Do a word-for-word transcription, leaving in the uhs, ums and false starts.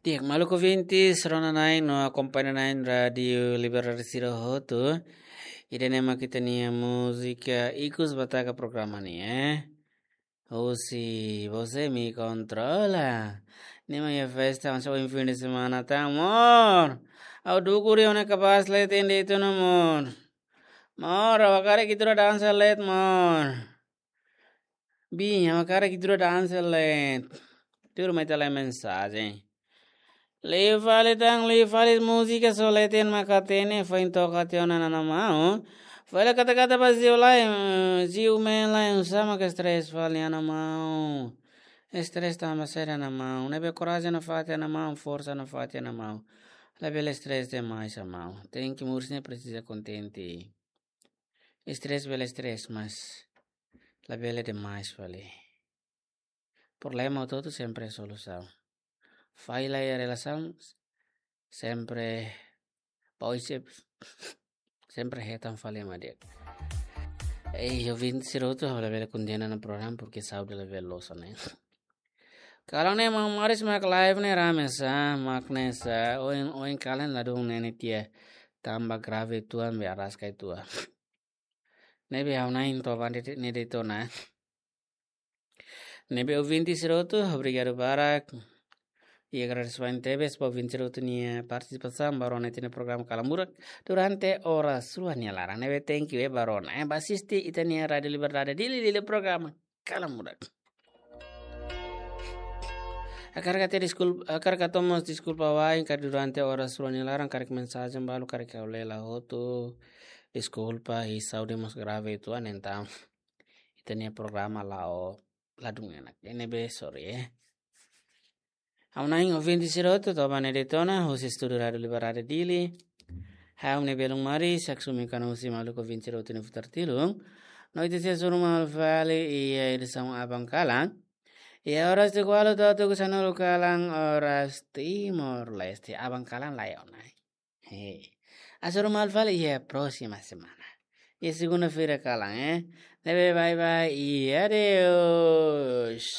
Di'ak, maluk ouvintes, rona-na'in no akompaña-na'in Rádiu Liberdade sira hotu. Ida-ne'e mak ita-nia múzika ikus ba taka programa nian. Husi Você Me Controla. Ne'e mak iha festa, hanesan ohin fim de semana tan, amor. Ha'u dukur iha ona kapás leet ende itu, amor. Amor, ha'u hakarak ita rua dansa leet, amor. Bin, ha'u hakarak ita rua dansa leet. Tuirmai ita lai mensajen. Liu fali tan, liu fali, múzika só leet mak hatene, foin toka tiha ona, Ana Maun. Fali kata-kata ba Ziu lai, eh, Ziu mean lai, oinsá mak stress fali, Ana Maun. Stress tanba saida, Ana Maun? Ne'ebé korajen nafatin, Ana Maun, forsa nafatin, Ana Maun. Labele stress demais, Ana Maun. Tenke moris ne'e presiza kontente. Stress bele stress, mas labele demais fali. Problema hotu-hotu sempre solusaun. Falla iha relasaun sempre, pois, sempre hetan fali ema di'ak. Eh, ouvinte sira hotu, ha'u labele kondena ona programa, porque saúde labele loos ona. Kalan ne'e maun Maris mak live ne'e rame sá, mak ne'e sá, ohin, ohin kalan ladún ne'e ne'e tiha tanba grave uitoan be araska uitoan. Ne'ebé ha'u-na'in to'o ba ne'e de'it ona. Ne'ebé ouvinte sira hotu, obrigadu barak. I agradesimentu tebes ba ouvinte sira hotu nia partisipasaun ba rona ita-nia programa Kalan Murak durante oras rua nia laran. Ne'ebé thank you, eh, ba rona, eh, ba asisti ita-nia Rádiu Liberdade Dili, Dili programa Kalan Murak. Hakarak atu deskulpa, hakarak atu mós deskulpa wa'in karik durante oras rua nia laran karik mensajen balu karik ha'u lee la hotu. Deskulpa, i saúde mós grave uitoan, entaun ita-nia programa la'o ladún enak. Ne'ebé sorry, eh. Ha'u-na'in ouvinte sira hotu, to'o ba ne'e de'it ona, husi estúdiu Rádiu Liberdade Dili. Ha'u ne'e belun Maris, haksomi kana husi maluk ouvinte sira hotu nia futar tilun. No ita sei hasoru malu fali iha edisaun aban kalan. Iha oras tuku ualu to'o tuku sanulu kalan, oras Timor-Leste, aban kalan laiha ona. He. Hasoru malu fali iha próxima semana. Iha segunda-feira kalan, eh. Ne'ebé bye bye i adeus.